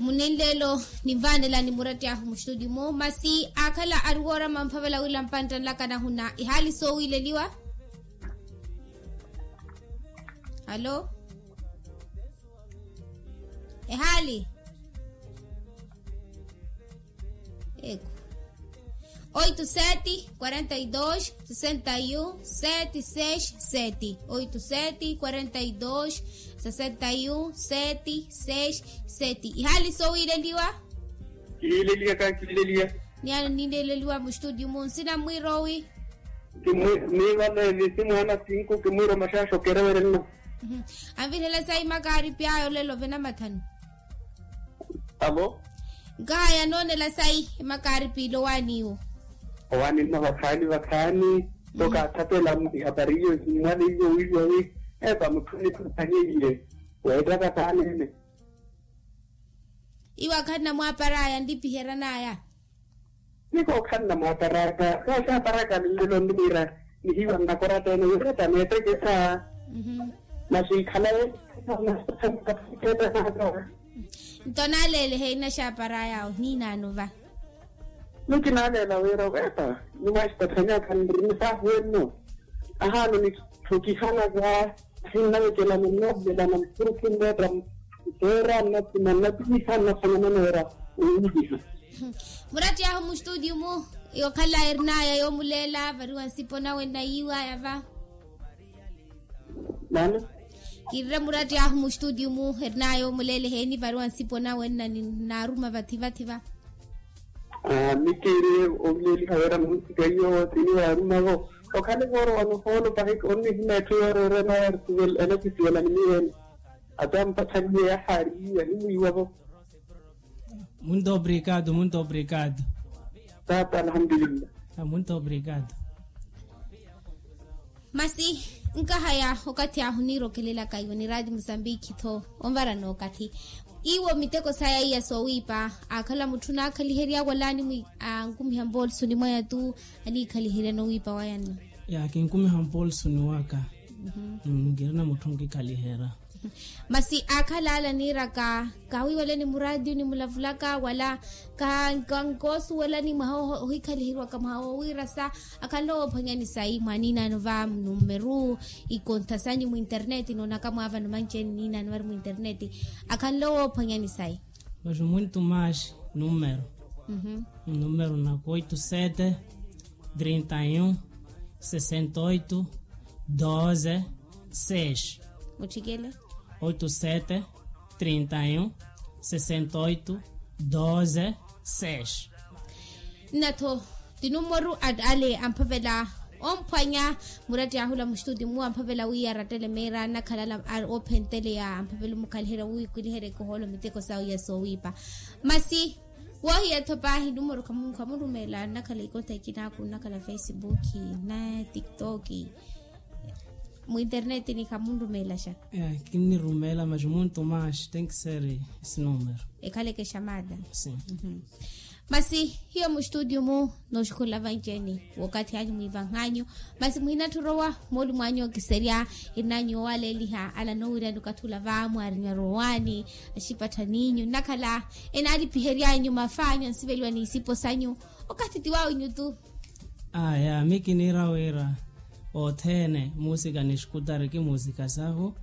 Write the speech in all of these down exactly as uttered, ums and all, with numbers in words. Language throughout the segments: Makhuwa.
Muninleelo, ninvaanelani muratti ahu mustutio mu masi akhala ari woorama mphavela wila mpantta nlaka nahuna ihaali soowiileliwa. Alo? Ehaali? Eku. Oito sete quarenta e dois sessenta e um sete seis sete. Oito sete quarenta e dois sessenta e um sete seis sete. Ihaali soowiileliwa? Kihiileliya ka kihiileliya. Ni ano niileleliwa mustutio mu nsina mwiroowi. Kimwi niivale visi mwaana sinku kimwiiro maxaaxo kerewerenna. Anvirhela sayi makaaripi aya olelo vena mathanu. Avo? Nkahaya noonela sayi makaaripi ilowaani iwo. Owaani nna vakhaani vakhaani. Tokaathapela mwiha pariyo simmwale iwo wiiwa wi epa mutthuni khuphanyeiye. Weettaka saanene. Iwo akhanna mwaaparaya nlipiheranaya. Niko okhanna mwaaparaka kaaxaaparaka nlelo nniira nihiwa nnakoratta ene wiretta neettekesa. Naxiikhalaye. Nto naaleelehe inaxaaparaya awo niinaano va. Ni kinaaleela wira weepa nimwaxitathanyaka nri nisaahuwenno. Ahaano nithukihanaka. Ahinnawekela munnoovela na mukhurukhunno ta. Nteera nnathuma nnapihiha nnaphwanya maneera. Owiipiha. Muratti ahu mustutio mu yookhala erinaya yoomuleela variwa nsipo nawe nnayiiwaya va. Nani? Kirire muratti ahu mustutio mu erinaya yoomuleela eheeni variwa nsipo nawe nna ninaaruma vathi vathi va. Aa mikiiri ovileeliha weera munsika iyo tini waarumavo. Okhale vooro wanohoolo pahiki onnihina etthu yooreerena yaari sivela ene kisivelani miyeene. Ata mpathaniye yahaariyiwa nimwiiwavo. Muito obrigado, muito obrigado. Tata alhamdulillah. Muito obrigado. Masi nkahaya okathi ahu niirokelelaka iwo ni raati musambiki tho onvarana okathi. Iwo miteko saya iya soowiipa akhala mutthu naakhaliherya wala ankumiha mpoolsoni mwayatu aniikhaliheryana owiipa waya nno. Ya kinkumiha mpoolsoni waka. Nkirina mutthu nkikhaliherya. Masi akhala ala niiraka kawiiweleni muraatiyo nimulavulaka wala kankoosuwelani mwaha ohikhaliheriwaka mwaha wowiirasa. Akhanle woophwanyani sayi mwaninano va mnumeru ikontha sanyu mwinterneti noonaka mwaavano manci eni ninano vari mwinterneti. Akhanle woophwanyani sayi. Mas muito mais número. Número nako oito sete trinta e um sessenta e oito doze seis. Mutthikele. Oito sete trinta e um sessenta e oito doze seis. Nnatho tinumoru ale amphavela omphwanya muratti ahula mustuti mu amphavela wi arattele meera nnakhalala. Ophenteleya amphavela omukhaliherya wi kwiliherya ekohoolo miteko sawe ya soowiipa. Masi wohiya tho paahi numoru khamurumela nnakhala ikontha ikinaku nnakhala facebook na tiktok. Mu internetini khamunrumelaxa. Kinnirumeela mas muntu mas tenki seri esi numero. Ekhaleke xamada. Masi hiyo mu studio mu nooxukhula vanci-ene wookathi anyu mwiivanhanyu. Masi muhinatthi orowa mooli mwanyu okiserya irinanyu oowaleeliha ala noowirya nikathi ula va mwaarinywa rowaani axipatthaninyu nnakhala enaalipihery'anyu mafaanyu ansiveliwa n'isipo sanyu. Okathi ti wawinyu tu. Aya mi kiniira wira othene muusika ni xikutari ki muusika sahu.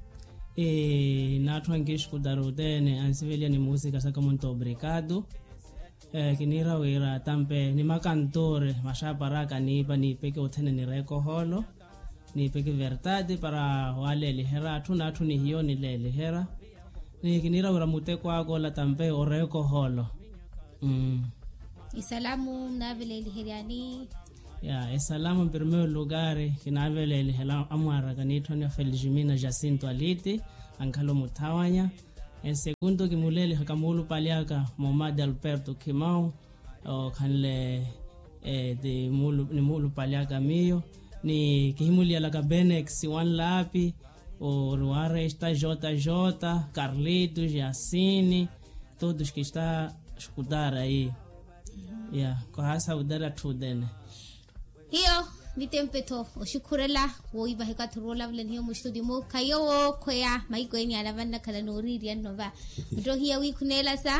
N'atthu ankixikutari othene ansiveliya ni muusika saka muntu obrikatu. Kiniira wira tampe ni makantuure maxaaparaka niipa niipeke othene nireeka ohoolo. Niipeke vertati para waleeliherya atthu n'atthu ni hiyo nileeliherya. Ni kiniira wira muteko aka ola tampe oreeka ohoolo. Isalamu munaaveleeliheryani? Ya esalamu mpirmeyo lukari kinaaveleelihela amwaaraka niitthoni ya felismina jacinto aliti ankhala omuthawanya. Ensekunto kimuleelihaka muulupali aka momadi alberto khimau. Okhanle ni muulupali aka miyo ni kihimuliyalaka benex wanlapi ori waresta jota jota carlito jasini. Todos kista xukutara iyi. Ya kohaasa wutera atthu otene. Hiyo Mittempe-tho oxukhurela wowivaha ekathi oroolavula nihiyo muxituti-mu khayo wookhweya maiko eni ala vannakhala nooriiriya nno va. Muttohiya wi khuneelasa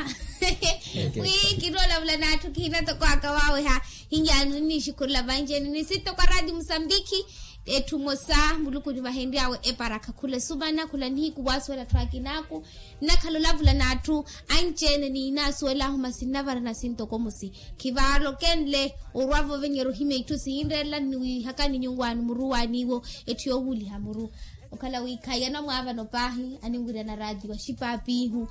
wi kinoolavula n'atthu kihina toko aka waaweha. Hinyano ninnixukhurela vanci-ene ni sitto kwa raati musambikhi. Etthu mosa muluku onivahenry'awe eparakha khula esumana khula nihiku waasuwela atthu akinaaku. Nnakhala olavula n'atthu anci-ene ni inaasuwel'ahu masi nnavara nasinto komusi. Khivaalokenle orwa voovenyerya ohimya itthu sihinreerela nniwiihakani nyuwaani muru waaniiwo. Etthu yoowuuliha muru okhala wi khayi anamwaavano paahi aninwiryana raati wa xipaapiihu,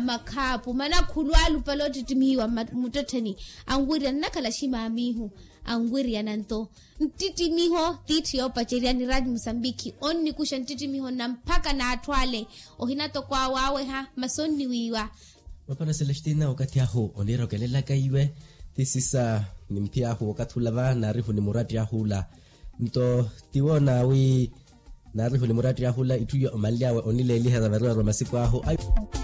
makhaapu manakhulu alupale ottittimihiwa mmuttettheni. Anwiryana nnakhala ximaamiihu anwiryana nto. Nttittimiho tiitthu yoopacerya ni raati musambikhi onnikuxa nttittimiho na mpakha n'atthu ale. Ohina toko awaaweha masi onniwiiwa. Mapana celestina okathi ahu oniirokelelaka iwe. Ti sisa ni mphiy'ahu okathi ula va naarihu ni muratti ahu ula. Nto tiwo naawi naarihu ni muratti ahu ula itthu iyo omanly'awe onileeliherya variyari wa masiku ahu ayo.